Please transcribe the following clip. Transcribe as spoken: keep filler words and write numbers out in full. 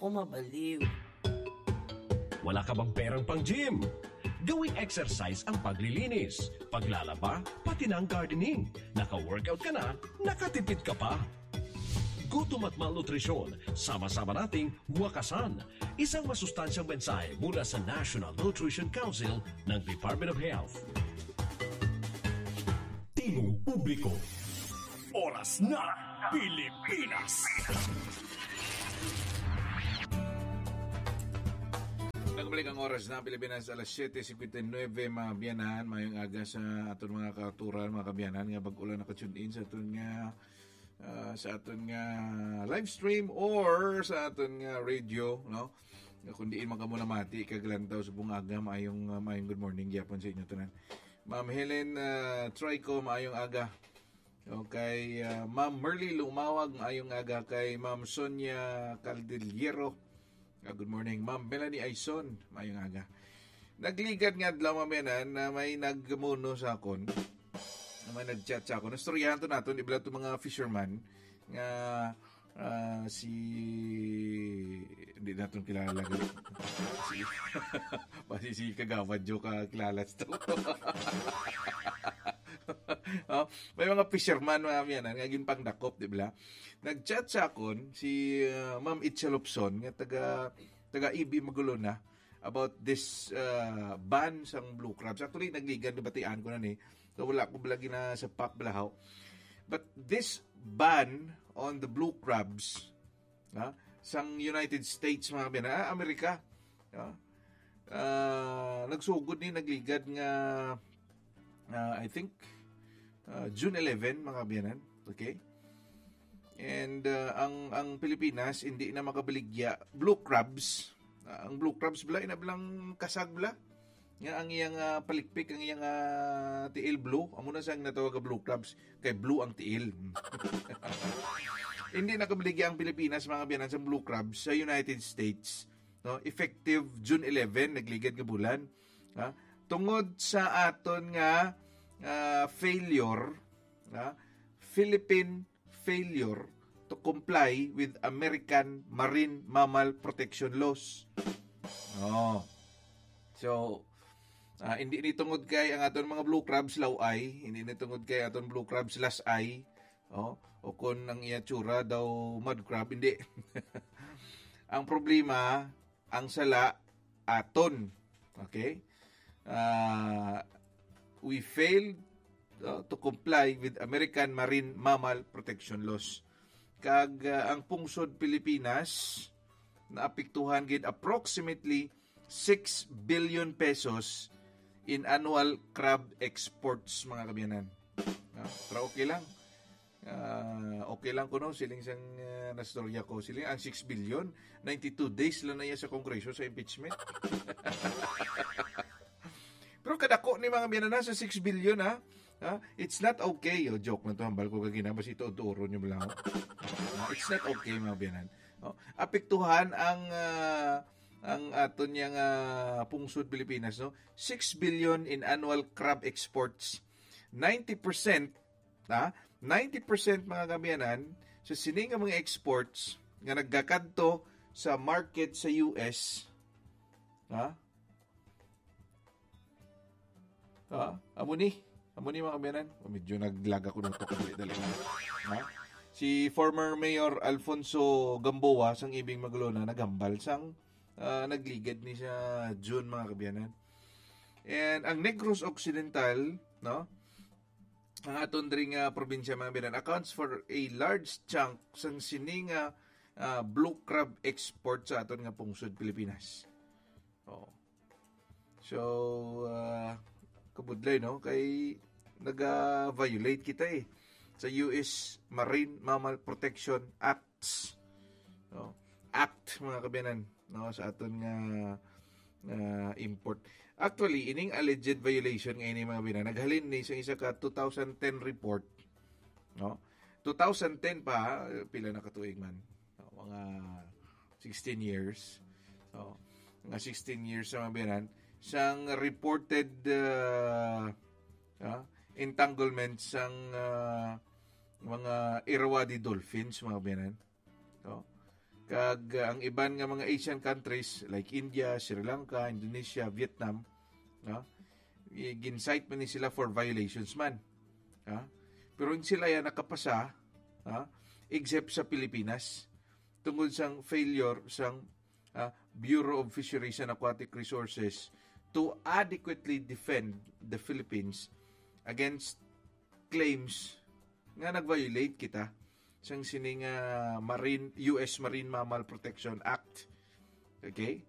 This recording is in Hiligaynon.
o mabaliw. Wala ka bang perang pang gym? Gawing exercise ang paglilinis, paglalaba, pati na ang gardening. Naka-workout ka na, nakatipid ka pa. Gutom at malnutrisyon, sama-sama nating wakasan. Isang masustansyang mensahe mula sa National Nutrition Council ng Department of Health. Tingog publiko. Oras na, Pilipinas. Nagbalik ang oras na Pilipinas, alas siyete cincuenta y nueve, mga biyanan. Mayong aga sa aton mga kauturan, mga kabiyanan, nga bag-o lang naka-tune in sa aton nga, ah, sa aton nga live stream or sa aton nga radio, no? Kung diin man kamo namati kag lantaw sa bungaga, maayong, ah, maayong good morning gyapon sa inyo tanan. Ma'am Helen, ah, Trico, maayong aga. Okay, ah, Ma'am Merly Lumawag, maayong aga. Kay Ma'am Sonia Caldillero, ah, good morning. Ma'am Melanie Aison, maayong aga. Nagligad nga adlaw, mga biyanan, na may nagmuno sa akon, na may nag-chat sa akon. Nastoryahan to naton, di ba, itong mga fisherman nga, ah, si, hindi naton kilala. Si, basi si Kagawad Jo ka kilala to. Oh, may mga fisherman, mga biyanan, nga ginpangdakop, di ba? Nag-chat sa akon si, ah, Ma'am Itza Lobson, nga taga, taga E B Magulona, about this, ah, ban sang blue crabs. Actually, nagligad, nabatian ko na ni. So, wala ko lagi na sa pak balahaw. But this ban on the blue crabs, ha, sang United States, mga biyanan, ah, Amerika, ha, ah, nagsugod ni, nagligad nga, ah, I think, ah, June eleven, mga biyanan. Okay? And, ah, ang, ang Pilipinas, hindi na makabaligya blue crabs. Ah, ang blue crabs bala, ina bilang kasag bala. Nga ang iyang, ah, palikpik, ang iyang, ah, tiil blue, amo na sang natawag nga blue crabs, kay blue ang tiil. Hindi nakabaligya ang Pilipinas, mga biyanan, sa blue crabs sa United States, no? Effective June eleven, nagligad nga bulan. Ha? Tungod sa aton nga, ah, failure, ha? Philippine failure to comply with American Marine Mammal Protection Laws. Oh. So, ah, hindi ni tungod kay ang aton mga blue crabs law-ay, hindi ni tungod kay aton blue crabs las-ay, oh, o kung ang iya tsura daw mud crab, hindi. Ang problema, ang sala aton. Okay? Ah, we failed, uh, to comply with American Marine Mammal Protection Laws. Kag, uh, ang pungsod Pilipinas naapektuhan gid approximately six billion pesos in annual crab exports, mga kabiyanan. Ah, pero okay lang. Ah, okay lang kuno, siling sang, ah, nastorya ko. Siling ang six billion, ninety-two days lang na iya sa Kongreso sa impeachment. Pero kadako ni, mga biyanan, sa six billion, ha? Ha? It's not okay. Oh, joke man to, hambal ko kagina, basi ito, turon niyo lang. Ah, it's not okay, mga biyanan. Oh, apektuhan ang, ah, ang aton yang, ah, pungsod Pilipinas, no? Six billion in annual crab exports. Ninety percent, ha? Ninety percent, mga kabiyanan, sa sini nga mga exports nga nagakadto sa market sa U S, ha? Ha? Amo ni, amo ni, mga kabiyanan. Oh, medyo naglaga ko nito kadali-dali. Ha? Si former Mayor Alfonso Gamboa sang Ibing Maglona naghambal sang, ah, nagligad ni sa June, mga kabiyanan. And ang Negros Occidental, no? Ang aton diri nga probinsya, mga biyanan, accounts for a large chunk sang sini nga, ah, blue crab export sa aton nga pungsod Pilipinas. Oh. So, ah, kabudlay, no? Kay naga-violate kita, eh, sa U S Marine Mammal Protection Acts. No? Act, mga kabiyanan, no? Sa aton nga, nga import. Actually, ining alleged violation nga ini, mga kabiyanan, naghalin ni sa isa ka two thousand ten report, no? Two thousand ten pa, pila na ka tuig man? No, mga sixteen years. So, mga sixteen years sa, mga biyanan, sang reported, ah, ah, entanglement sang, ah, mga Irrawaddy dolphins, mga biyanan. No? Kag uh, ang iban nga mga Asian countries like India, Sri Lanka, Indonesia, Vietnam, no? I- gin-cite man ni sila for violations man. Ha? Pero ang sila yan nakapasa, ha? Except sa Pilipinas, tungod sang failure sang ah, Bureau of Fisheries and Aquatic Resources to adequately defend the Philippines against claims nga nag-violate kita sang sining ah, marine U S Marine Mammal Protection Act. Okay?